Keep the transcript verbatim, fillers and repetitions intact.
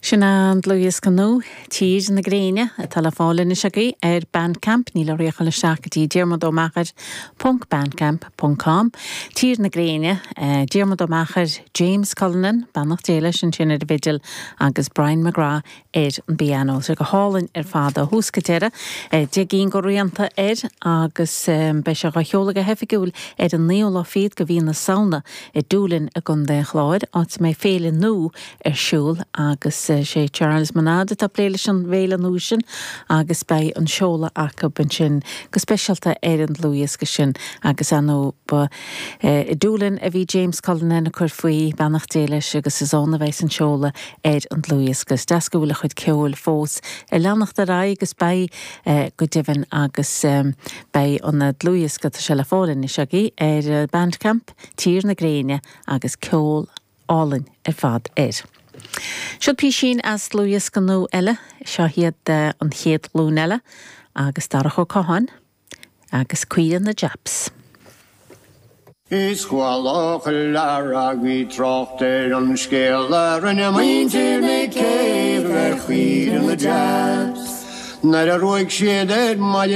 Sin an dlúthdhiosca nua Tír na Gréine atá le fáil anois agaibh ar Bandcamp níl oraibh ach dul isteach go dtí Diarmuid Ó Meachair ponc bandcamp ponc com. Tír na Gréine, eh, Diarmuid Ó Meachair, James Cullinan, beannacht Dé leis ansin ar an bhfidil agus Brian McGrath ar an bpianó. Sé go hálainn ar fad ó thús go deireadh, eh, deich gcinn de rianta air agus um, beidh sé á sheoladh go hoifigiúil ar an naoú lá fichead de mhí na Samhna i Doolin i gContae an Chláir, áit a mbeidh féile nua ar siúl agus eh, sé Charles Monad atá plé leis an bhféile nua sin agus beidh an seoladh acu ansin go speisialta ar an dlúthdhiosca sin agus anó ba eh, i Doolin a bhí James Cullinan ag cur faoi beannacht Dé leis agus is ann a bheidh an seoladh ar an dlúthdhiosca. Deas go bhfuil a chuid ceoil fós ag leanacht ar aghaidh agus beidh eh, go deimhin agus um, beidh an dlúthdhiosca tá sé le fáil anois agaibh ar eh, Bandcamp Tír na Gréine agus ceol álainn ar fad air. Seo písín as dlúthdhiosca nua eile seo iad eh, an chéad ghlúin eile agus Darach Ó Catháin agus Caoire na Japs. Is chuala lear trácht ar an scéal a rinne muintir na céibh ar chaoire na Japs. Nuair a ruaig siad ar maide